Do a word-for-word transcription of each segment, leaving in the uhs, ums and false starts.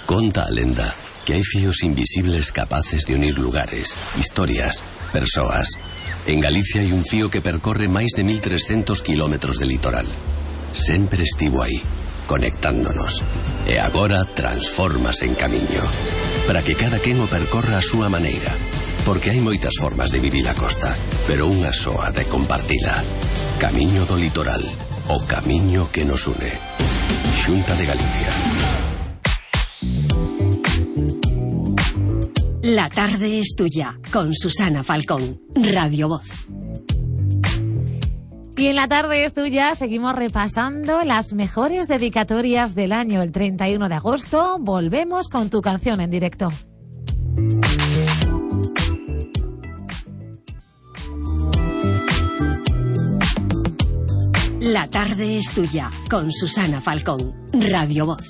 Conta a lenda que hai fíos invisibles capaces de unir lugares, historias, persoas. En Galicia hai un fío que percorre máis de mil trescentos kilómetros de litoral. Sempre estivo aí, conectándonos. E agora transfórmase en camiño. Para que cada quen o percorra a súa maneira. Porque hai moitas formas de vivir a costa, pero unha soa de compartila. Camiño do litoral, o camiño que nos une. Xunta de Galicia. La tarde es tuya, con Susana Falcón, Radio Voz. Y en la tarde es tuya seguimos repasando las mejores dedicatorias del año. El treinta y uno de agosto volvemos con tu canción en directo. La tarde es tuya, con Susana Falcón, Radio Voz.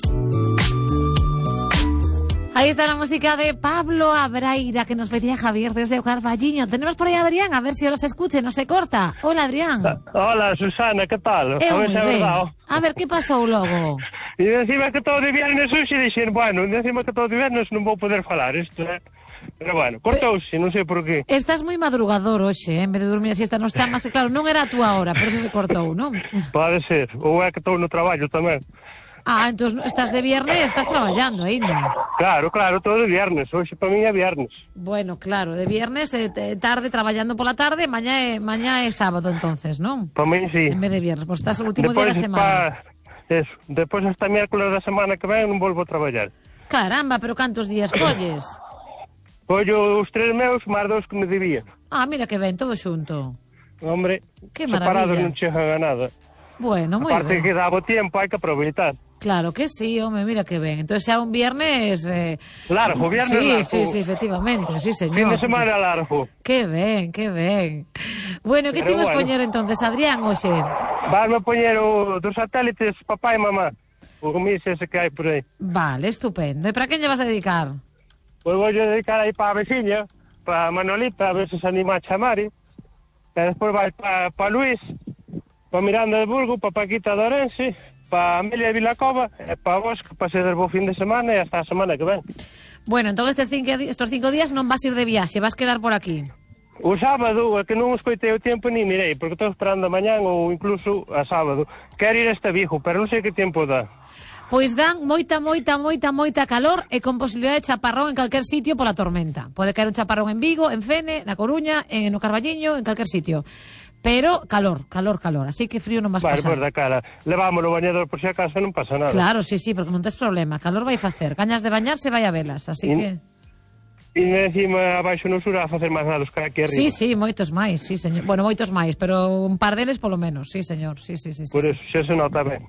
Ahí está la música de Pablo Abraira, que nos pedía Javier desde O Carballiño. Tenemos por ahí a Adrián, a ver si ahora se escuche, no se corta. Hola, Adrián. Hola, Susana, que tal? Eu a ver se é verdade. A ver, que pasou logo? E encima que todo de viernes hoxe dixen, bueno, encima que todo de viernes non vou poder falar isto, eh? Pero bueno, cortouse, non sei por qué. Estás moi madrugador hoxe, eh? En vez de dormir a siesta nos chamas, e claro, non era a túa hora, por eso se cortou, non? Pode ser, ou é que estou no traballo tamén. Ah, entón estás de viernes, estás traballando aínda. Claro, claro, todo de viernes, hoxe para mí é viernes. Bueno, claro, de viernes, eh, tarde, traballando pola tarde, mañá é, mañá é sábado, entonces, non? Para mí sí. En vez de viernes, pois estás o último Depois, día da semana. Pa... Eso, depois hasta miércoles da semana que ven non volvo a traballar. Caramba, pero cantos días colles? Collo os tres meus, máis dos que me debía. Ah, mira que ben, todo xunto. Hombre, que separados maravilla. non chegan a nada. Bueno, moi Aparte ben. que dá bo tempo, hai que aproveitar. Claro que sí, home, mira que ben. Entonces xa un viernes... Eh... Largo, viernes sí, largo. Sí, sí, efectivamente, sí, señor. Fin de sí, semana sí. largo. Que ben, que ben. Bueno, que Pero chimos bueno. poñer entonces, Adrián, oxe? Vasme a poñer o dos satélites papá e mamá. O comis ese que hai por aí. Vale, estupendo. E para quen lle vas a dedicar? Pois vou dedicar aí para a veciña, para a Manolita, a ver se se anima a chamar. E despois vai para pa Luís, para Miranda de Burgo, para Paquita de Orense, para Amelia de Vilacova, e para vos, que pasedes bo fin de semana e hasta a semana que ven. Bueno, entón estes cinco, estos cinco días non vas ir de viaxe, vas quedar por aquí. O sábado, é que non escoitei o tempo ni mirei, porque estou esperando a mañán ou incluso a sábado. Quero ir a este Vigo, pero non sei que tempo dá. Pois dan moita, moita, moita, moita calor e con posibilidade de chaparrón en calquer sitio pola tormenta. Pode caer un chaparrón en Vigo, en Fene, na Coruña, en no Carballiño, en calquer sitio. Pero calor, calor, calor. Así que frío non vas Vale, pasar. pois da cara. Levámoslo o bañador por si acaso non pasa nada. Claro, sí, sí, porque non tes problema. Calor vai facer. Gañas de bañarse vai a velas, así In... que... E encima abaixo no sur a facer máis nada os que aquí arriba. Sí, sí, moitos máis, sí, señor. Bueno, moitos máis, pero un par deles polo menos, sí, señor. Sí, sí, sí, sí. Por sí. eso, xa se nota ben.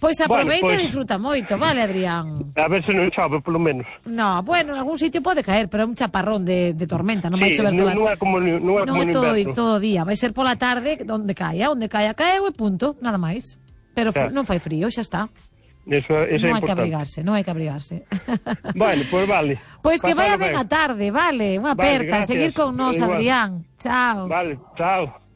Pois aproveita Bueno, e pois... disfruta moito, vale, Adrián? A ver se non chove, polo menos. No, bueno, en algún sitio pode caer, pero é un chaparrón de, de tormenta, non vai Sí, chover non, toda... non é como, non é non como é no todo, inverno. todo día, vai ser pola tarde onde caia, onde caia, caeu e punto, nada máis. Pero Claro. non fai frío, xa está. Eso, eso non é hai que importante. abrigarse, non hai que abrigarse. Bueno, pois pues vale. Pois que Pasalo vaya ben a tarde, vale, unha Vale, perca, gracias. seguir con nós, Igual. Adrián. Chao. Vale, chao.